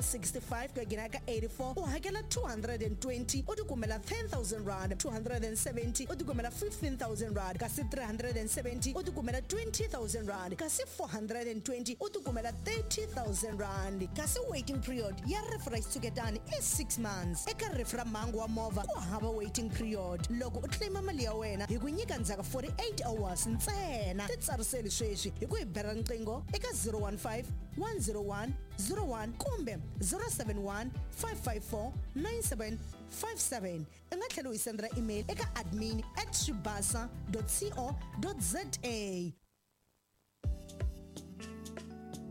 65 ku ya nghena ka 84 u hakela 220 u tikumela 10000 rand, 270 u tikumela 15000 rand, kasi 370 u tikumela 20000 rand, kasi 420 u tikumela 30000 rand. Kasi waiting period ya rifu ra xitshuketani i 6 months. Eka rifu ra mhangu wa movha ku hava waiting period. Loko u claima mali ya wena hi ku nyika ndzhaku ka 48 hours ntsena. Titsariseli sweswi hi ku hi bela riqingho eka 015 101 01 kumbe 071 554 9757. U nga tlhela u hi sendela email eka admin at swibasa co za.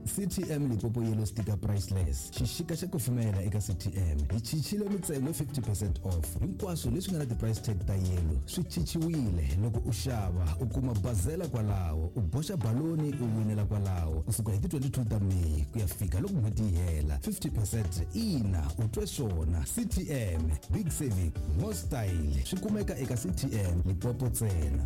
CTM Limpopo Yellow Sticker Priceless. Xixika xa kufumela eka CTM. Hi chichile mintsengo hi 50 percent off. Hinkwaswo leswi nga na ti-price tag ta yellow swi chichiwile. Loko u xava u kuma bazela kwalaho, u boxa baloni u winela kwalaho. Kusuka hi ti 22 ta May ku ya fika loko n'hweti yi hela. 50 percent ina, u twe swona. CTM, big saving, more style. Swi kumeka eka CTM Limpopo ntsena.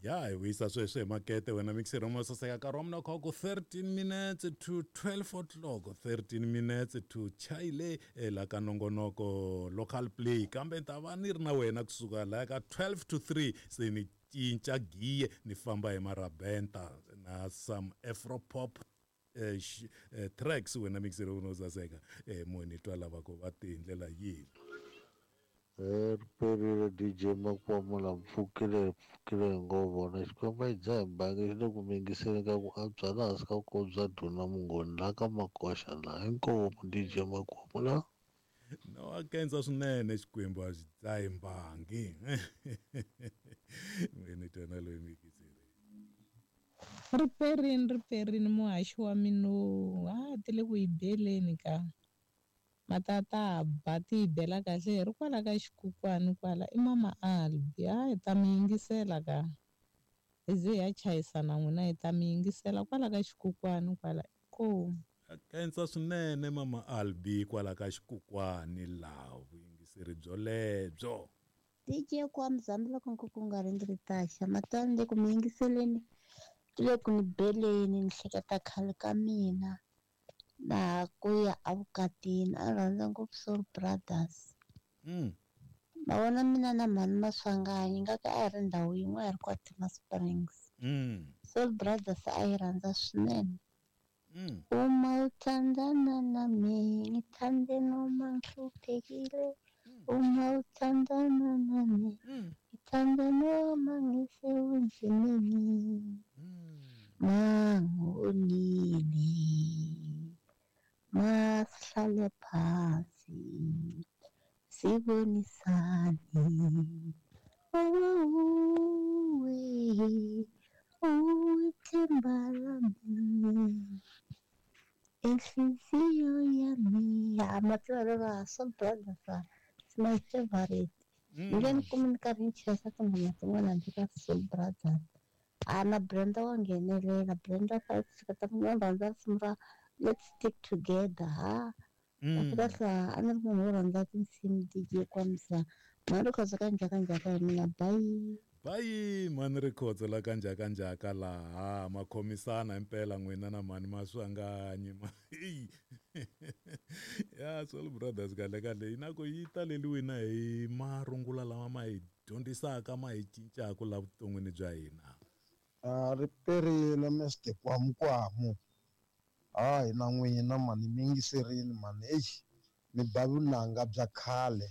Ya hi vuyisa sweswi hi makete wena mixer mo saseka nkarhi wa mina kha ku 13 minutes to 12 o'clock, 13 minutes to chayile la ka nongonoko local play, kambe ni ta va ni ri na wena kusuka laya ka 12 to 3 se ni cinca giye ni famba hi marabenta na some afro pop tracks wena mixer wo saseka mo ni twa lava ku va ti hi ndlela yihi. Riperile DJ Makwamula, mpfukile mpfukile hi ngo vona Xikwembu a yi dzaha bangi xi le ku mingiseni ka ku antswa laha hansi ka vukosi bya Duna Mungoni laha ka Makoxa laha. Inkomu DJ Makwamula. No a kensa swinene Xikwembu a xi dzahi mbangi. Ni twa na loyi mikiseri. Riperini riperini muhaxi wa mino a ti le ku yi beleni ka matata ba ti yi bela kahle hi ri kwala ka xikukwani kwala i mama Albi a hi ta mi yingisela ka hi ze hi ya chayisana n'wina hi ta mi yingisela kwala ka xikukwani kwala inkomu. A kensa swinene mama Albi kwala ka xikukwani laha vuyingiseri byolebyo. DJ kwa mzambi loko nkuku nga ri ndzi taxa matani le ku mi yingiseleni le ku ni beleni ni hleketa khale ka mina na ku ya evukatini a rhandza ngopfu Soul Brothers. Mavona mina na mhani Maswanganyi nga ka a hi ri ndhawu yin'we a hi ri kwa Tima Springs. Soul Brothers a yi rhandza swinene. Uma uthandana nami ngithande noma ngihluphekile, uma uthandana nami ngithande noma ngisebunzimeni, mangonile masihlale phansi sibonisane, uwe uwithemba lami inhliziyo yami. Amatswalo Soul Brothers it's my favorite. Ni nge ni kumi ni karhi ni chesa tinghoma tin'wana handle ka Soul Brothers. A na Brenda wa nghenelela, Brenda ka hleketa mina rhandza risimu ra Let's Stick Together. Ha kahle kahle a ni ri munhu wo rhandza tinsimu DJ Kwamza mhani Rikhotso ka njhaka njhaka hi mina, bye. Bayi mhani Rikhotso la ka njhaka njhaka laha makhomisana impela n'wina na mhani Maswanganyi ma ya Soul Brothers kahle kahle yi na ku yi taleliwile hi marungula lama ma hi dyondzisaka ma hi cincaka la vuton'wini bya hina. A riperile Mr Kwamukwamu. Hayi na n'wina mani mi yingiserini mani, eish mi ba vunanga bya khale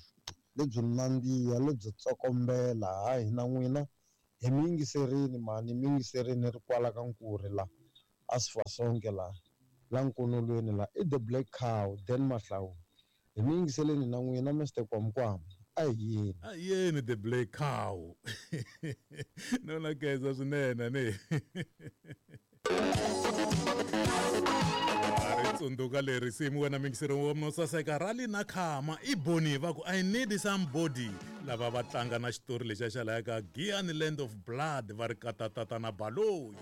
lebyo nandziha lebyo tsokombela. Hayi na n'wina hi mi yingiserini mani, mi yingiserini ri kwala ka Nkuri la a Sifasonke la la Nkonolweni la i the Black Cow Dan Mahlawula. Hi mi yingiseleni na n'wina Mr Kwamukwamu. A hi yeni. A hi yeni the Black Cow. No na khensa swinene ni. Ri tsundzuka leri risimu wena mingiseri wa mina saseka rali na khama i boni va ku I need somebody lava va tlanga na xitori lexiya xa laya ka Giyani Land of Blood va ri katatata na Baloyi.